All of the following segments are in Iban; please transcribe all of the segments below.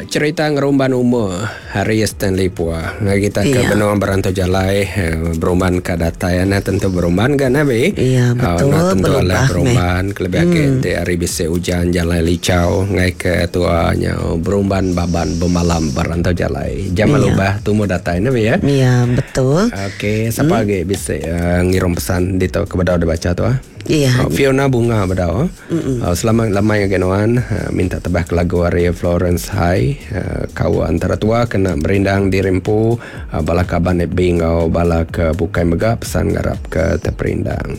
Cerita ngerumban umur hari Stanley Pua. Ngagai kita ke Iya. benung berantau jalai eh, berumban ka datai nah tentu berumban ga nah bi. Iya, Ah, betul, nah tentu alah belubah meh. berumban kelebih agi enti hari bisi ujan jalai licau ngai ke tua nyau berumban baban bemalam berantau jalai. Jam Iya. lubah tumu datai nah bi ya. Iya, betul. Okey, sapa agi bisi uh, ngirum pesan ditu ke bedau dibaca tu ah. Iya. Oh, Fiona Bunga bedau. Uh, selamat lamai ngagai nuan uh, minta tebah ke lagu ari Florence High uh, kau antara tua kena merindang diri empu uh, bala kaban FB enggau bala ke bukai mega pesan ngarap ke teperindang.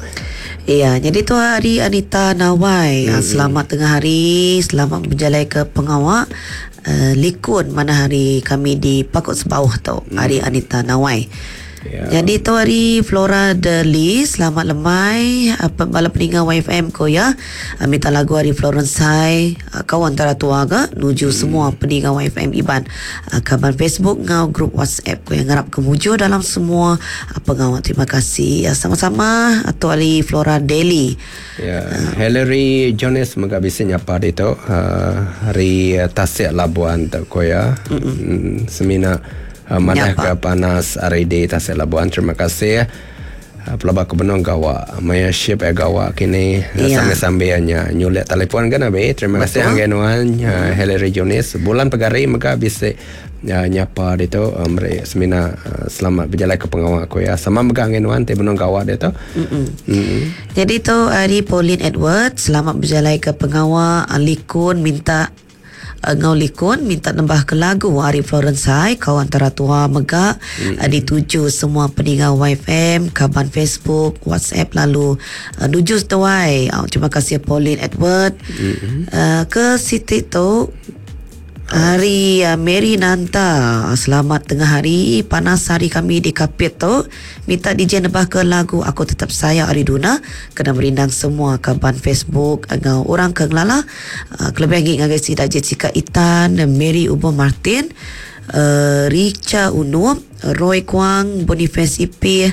Iya, jadi tu hari Anita Nawai. Selamat tengah hari, selamat berjalai ke pengawa uh, likun mana hari kami di Pakut Sebauh tu. Hari Anita Nawai. Ya. Jadi tu hari Flora Deli, selamat lemai apa bala peninga YFM ko ya. Minta lagu hari Florence Hai, kau antara tua ga nuju semua peninga YFM Iban. Kaban Facebook ngau grup WhatsApp ko yang ngarap kemujur dalam semua pengawal. Terima kasih. Sama-sama atau hari Flora Deli. Ya, Hillary Jones mega bisi nyapa ditu hari Tasik Labuan tu ko ya. Mm, semina madah Nyapa. ke panas hari di Tasik Labuan. Terima kasih. Pelaba ke benung gawa. Maya ship gawa kini Ya. sambil-sambilnya nyulik telefon kan abi. Terima kasih ngagai nuan Hillary Jones. Bulan pegari mega bisi nyapa ditu meri semina selamat berjalai ke pengawa aku ya. Sama mega ngagai nuan ti benung gawa ditu. Mm. Jadi tu hari Pauline Edward, selamat berjalai ke pengawa likun minta ngau likun minta nambah ke lagu hari Florence High kau antara tua mega dituju semua peninga YFM, kaban Facebook, WhatsApp lalu nuju tuai. Terima kasih Pauline Edward. Ke Siti tu Hari Mary Nanta, selamat tengah hari, panas hari kami di Kapit tu. Minta DJ nebah ke lagu Aku Tetap Sayang Ari Duna kena merindang semua kaban Facebook ngau orang ke ngelala. Kelebih lagi ngagai sida Jessica Itan, Mary Ubo Martin, Richa Unup, Roy Kwang, Boniface Ipih,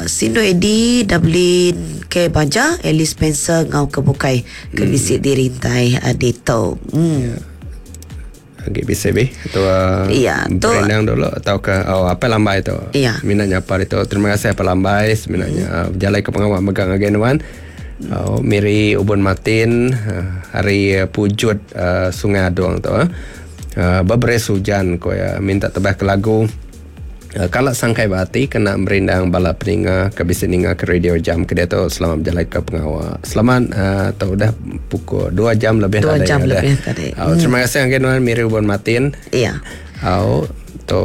Sindo Edi, Dublin K Baja, Alice Spencer ngau ke bukai ke bisi dirintai dito. Agi bisa bi atau Ya, tu- berendang dulu atau ke oh apa lambai tu. Ya. Minat nyapa itu. Terima kasih apa lambai sebenarnya berjalai ke pengawal megang ngagai nuan. Oh, Miri Ubun Martin hari Pujut Sungai Adong tu. Beberes hujan ko ya minta tebah ke lagu. Kalau sangkai berhati kena merindang bala peninga ke bisi ninga ke radio jam ke dia tu selamat berjalai ke pengawal. Selamat tu dah pukul 2 jam lebih 2 tadi jam dah. lebih tadi. Oh, terima kasih ngagai nuan Miri Ubun Martin. Ya. Oh, tu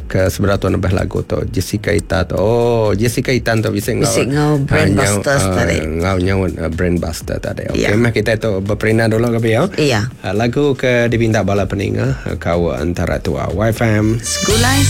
ke sebelah tuan lebih lagu tu Jessica Ita tu. Oh, Jessica Itan tu bisa ngau. Bisi ngau Brain ah, Busters tadi. Ngau nyaut Brain Buster tadi. Okey, Ya. meh kita tu berperindang dulu ke ya. Iya. Lagu ke dipinta bala peninga kau antara tua YFM. Segulai.